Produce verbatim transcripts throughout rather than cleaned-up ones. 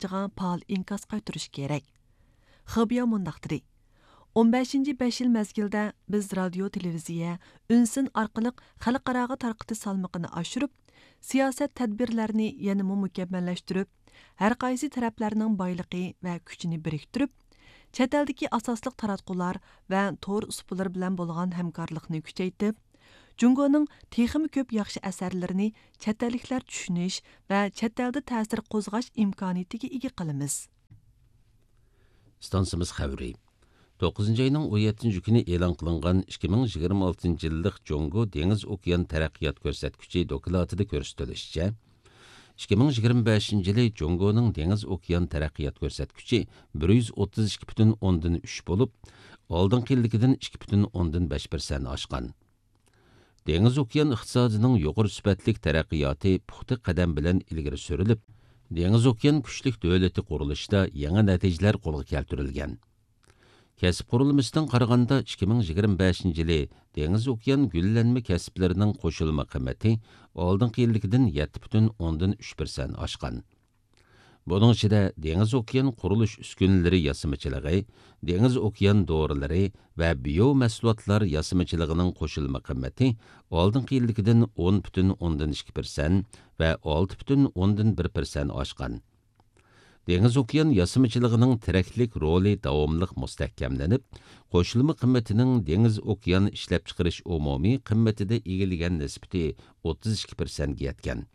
قويغان پائال ئىنكاس قايتۇرۇشى كېرەك. خېبياۋ مۇنداق دېدى: «ئون بەشىنچى بەش يىل مەزگىلدە بىز رادىيو، تېلېۋىزىيە، ئۈنسىن ئارقىلىق خەلقئاراغا تارقىتىش سالمىقىنى ئاشۇرۇپ، سىياسەت تەدبىرلەرنى يەنىمۇ مۇكەممەللەشتۈرۈپ، ھەر قايسى تەرەپلەرنىڭ بايلىقى ۋە كۈچىنى بىرىكتۈرۈپ، چەت ئەلدىكى ئاساسلىق تاراتقۇلار ۋە تور ئۇسۇللىرى بىلەن بولغان ھەمكارلىقنى كۈچەيتىپ، جۇڭگونىڭ تېخىمۇ كۆپ ياخشى ئەسەرلىرىنى چەت ئەللىكلەر چۈشىنىش ۋە چەت ئەلدە تەسىر قوزغاش ئىمكانىيىتىگە ئىگە قىلىمىز.» ئىستانسىمىز خەۋىرى. توققۇزىنچى ئاينىڭ ئون يەتتىنچى كۈنى ئېلان قىلىنغان ئىككى مىڭ يىگىرمە ئالتىنچى يىللىق جۇڭگو دېڭىز ئوكيان تەرەققىيات كۆرسەتكۈچى دوكلاتىدا كۆرسىتىلىشىچە، ئىككى مىڭ يىگىرمە بەشىنچى يىلى جۇڭگونىڭ دېڭىز ئوكيان تەرەققىيات كۆرسەتكۈچى بىر يۈز ئوتتۇز ئىككى پۈتۈن ئوندىن ئۈچ بولۇپ، ئالدىنقى يىلدىكىدىن ئىككى پۈتۈن ئوندىن بەش پىرسەنت ئاشقان. دېڭىز ئوكيان ئىقتىسادىنىڭ يۇقىرى سۈپەتلىك تەرەققىياتى پۇختا قەدەم بىلەن ئىلگىرى سۈرۈلۈپ، دېڭىز ئوكيان كۈچلۈك دۆلىتى قۇرۇلۇشىدا يېڭى نەتىجىلەر قولغا كەلتۈرۈلگەن. كەسىپ قۇرۇلمىسىدىن قارىغاندا، ئىككى مىڭ يىگىرمە بەشىنچى يىلى دېڭىز ئوكيان گۈللەنمە كەسىپلىرىنىڭ قوشۇلما قىممىتى ئالدىنقى يىلدىكىدىن يەتتە پۈتۈن ئوندىن ئۈچ پىرسەنت ئاشقان. بۇنىڭ ئىچىدە دېڭىز ئوكيان قۇرۇلۇش ئۈسكۈنىلىرى ياسىمىچىلىقى، دېڭىز ئوكيان دورىلىرى ۋە بىيو مەھسۇلاتلار ياسىمىچىلىقىنىڭ قوشۇلما قىممىتى ئالدىنقى يىلدىكىدىن ئون پۈتۈن ئوندىن ئىككى پىرسەنت ۋە ئالتە پۈتۈن ئوندىن بىر پىرسەنت ئاشقان. دېڭىز ئوكيان ياسىمىچىلىقىنىڭ تىرەكلىك رولى داۋاملىق مۇستەھكەملىنىپ، قوشۇلما قىممىتىنىڭ دېڭىز ئوكيان ئىشلەپچىقىرىش ئومۇمىي قىممىتىدە ئىگىلىگەن نىسبىتى ئوتتۇز ئىككى پىرسەنتكە يەتكەن.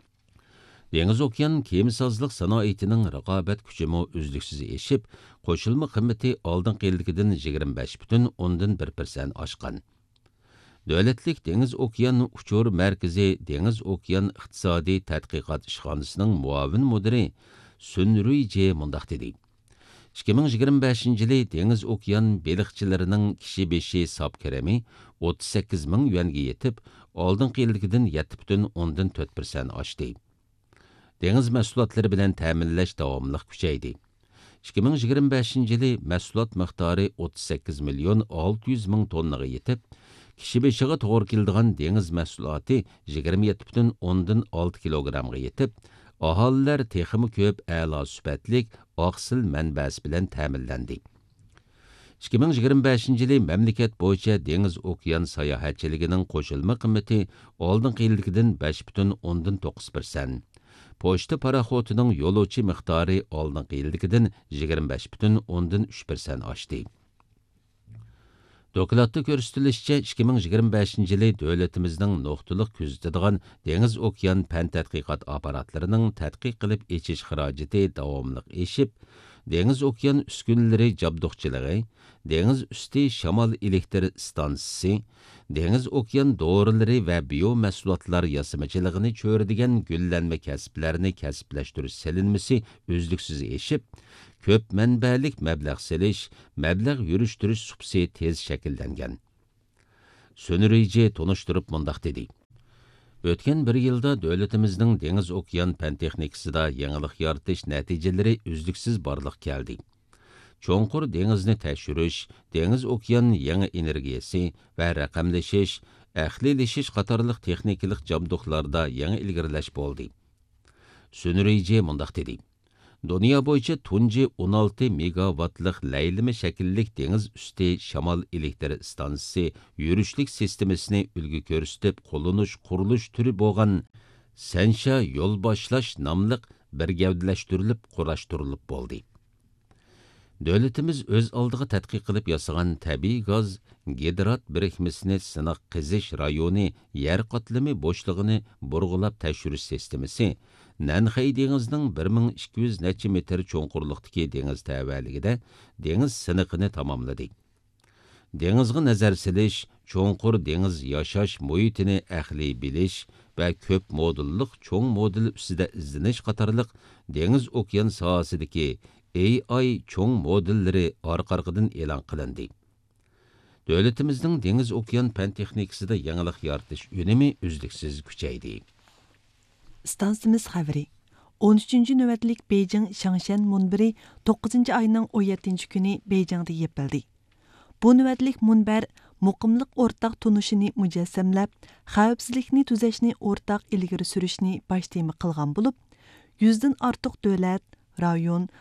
دېڭىز ئوكيان كېمىسازلىق سانائىتىنىڭ رىقابەت كۈچىمۇ ئۈزلۈكسىز ئېشىپ، قوشۇلما قىممىتى ئالدىنقى يىلدىكىدىن يىگىرمە بەش پۈتۈن ئوندىن بىر پىرسەنت ئاشقان. دۆلەتلىك دېڭىز ئوكيان ئۇچۇر مەركىزى دېڭىز ئوكيان ئىقتىسادىي تەتقىقات ئىشخانىسىنىڭ مۇئاۋىن مۇدىرى سۈن رۇيجې مۇنداق دېدى: ئىككى مىڭ يىگىرمە بەشىنچى يىلى دېڭىز ئوكيان بېلىقچىلىرىنىڭ كىشى بېشى ساپ كىرىمى ئوتتۇز سەككىز مىڭ يۈەنگە يېتىپ، ئالدىنقى يىلدىكىدىن يەتتە پۈتۈن ئوندىن تۆت پىرسەنت ئاشتى. دېڭىز مەھسۇلاتلىرى بىلەن تەمىنلەش داۋاملىق كۈچەيدى. ئىككى مىڭ يىگىرمە بەشىنچى يىلى مەھسۇلات مىقدارى ئوتتۇز سەككىز مىليون ئالتە يۈز مىڭ توننىغا يېتىپ، كىشى بېشىغا توغرا كېلىدىغان دېڭىز مەھسۇلاتى يىگىرمە يەتتە پۈتۈن ئوندىن ئالتە كىلوگرامغا يېتىپ، ئاھالىلەر تېخىمۇ كۆپ ئەلا سۈپەتلىك ئاقسىل مەنبەسى بىلەن تەمىنلەندى. ئىككى مىڭ يىگىرمە بەشىنچى يىلى مەملىكەت بويىچە دېڭىز ئوكيان ساياھەتچىلىكىنىڭ قوشۇلما قىممىتى ئالدىنقى يىلدىكىدىن بەش پۈتۈن ئوندىن توققۇز پىرسەنت، پوچتا پاراخوتىنىڭ يولۇچى مىقدارى ئالدىنقى يىلدىكىدىن يىگىرمە بەش پۈتۈن ئوندىن ئۈچ پىرسەنت ئاشتى. دوكلاتتا كۆرسىتىلىشىچە، ئىككى مىڭ يىگىرمە بەشىنچى يىلى دۆلىتىمىزنىڭ نۇقتىلىق كۆزىتىدىغان دېڭىز ئوكيان پەن تەتقىقات ئاپپاراتلىرىنىڭ تەتقىق قىلىپ ئېچىش خىراجىتى داۋاملىق ئېشىپ، دېڭىز ئوكيان ئۈسكۈنىلىرى جابدۇقچىلىقى، دېڭىز ئۈستى شامال ئېلېكتر ئىستانسىسى، دېڭىز ئوكيان دورىلىرى ۋە بىيو مەھسۇلاتلار ياسىمىچىلىقىنى چۆرىدىگەن گۈللەنمە كەسىپلەرنى كەسىپلەشتۈرۈش سېلىنمىسى ئۈزلۈكسىز ئېشىپ، كۆپ مەنبەلىك مەبلەغ سېلىش، مەبلەغ يۈرۈشتۈرۈش سۇپىسى تېز شەكىللەنگەن. سۈن رۇيجې تونۇشتۇرۇپ مۇنداق دېدى: ئۆتكەن بىر يىلدا دۆلىتىمىزنىڭ دېڭىز ئوكيان پەن تېخنىكىسىدا يېڭىلىق يارىتىش نەتىجىلىرى ئۈزلۈكسىز بارلىققا كەلدى. چوڭقۇر دېڭىزنى تەكشۈرۈش، دېڭىز ئوكيان يېڭى ئېنېرگىيەسى ۋە رەقەملىشىش، ئەقلىيلىشىش قاتارلىق تېخنىكىلىق جابدۇقلاردا يېڭى ئىلگىرىلەش بولدى. سۈن رۇيجې مۇنداق دېدى: دۇنيا بويىچە تۇنجى ئون ئالتە مېگاۋاتلىق لەيلىمە شەكىللىك دېڭىز ئۈستى شامال ئېلېكتر ئىستانسىسى يۈرۈشلۈك سىستېمىسىنى ئۈلگە كۆرسىتىپ قوللىنىش قۇرۇلۇش تۈرى بولغان سەنشيا يول باشلاش ناملىق بىر گەۋدىلەشتۈرۈلۈپ قۇراشتۇرۇلۇپ بولدى. دۆلىتىمىز ئۆز ئالدىغا تەتقىق قىلىپ ياسىغان تەبىئىي گاز گىدرات بىرىكمىسىنى سىناق قېزىش رايونى يەر قاتلىمى بوشلۇقىنى بۇرغىلاپ تەكشۈرۈش سىستېمىسى نەنخەي دېڭىزىنىڭ بىر مىڭ ئىككى يۈز نەچچە مېتىر چوڭقۇرلۇقتىكى دېڭىز تەۋەلىكىدە دېڭىز سىنىقىنى تاماملىدى. دېڭىزغا نەزەر سېلىش، چوڭقۇر دېڭىز ياشاش مۇھىتىنى ئەقلىي بىلىش ۋە كۆپ مودېللىق چوڭ مودېل ئۈستىدە ئىزدىنىش قاتارلىق دېڭىز ئوكيان ساھەسىدىكى ئېي ئاي چوڭ مودېللىرى ئارقا-ئارقىدىن ئېلان قىلىندى. دۆلىتىمىزنىڭ دېڭىز ئوكيان پەن تېخنىكىسىدا يېڭىلىق يارىتىش ئۈنۈمى ئۈزلۈكسىز كۈچەيدى. ئىستانسىمىز خەۋىرى. ئون ئۈچىنچى نۆۋەتلىك بېيجىڭ شاڭشيەن مۇنبىرى توققۇزىنچى ئاينىڭ ئون يەتتىنچى كۈنى بېيجىڭدا يېپىلدى. بۇ نۆۋەتلىك مۇنبەر مۇقىملىق ئورتاق تونۇشىنى مۇجەسسەملەپ، خەۋپسىزلىكنى تۈزەشنى ئورتاق ئىلگىرى سۈرۈشنى باش تېما قىلغان بولۇپ، يۈزدىن ئارتۇق دۆلەت، رايون،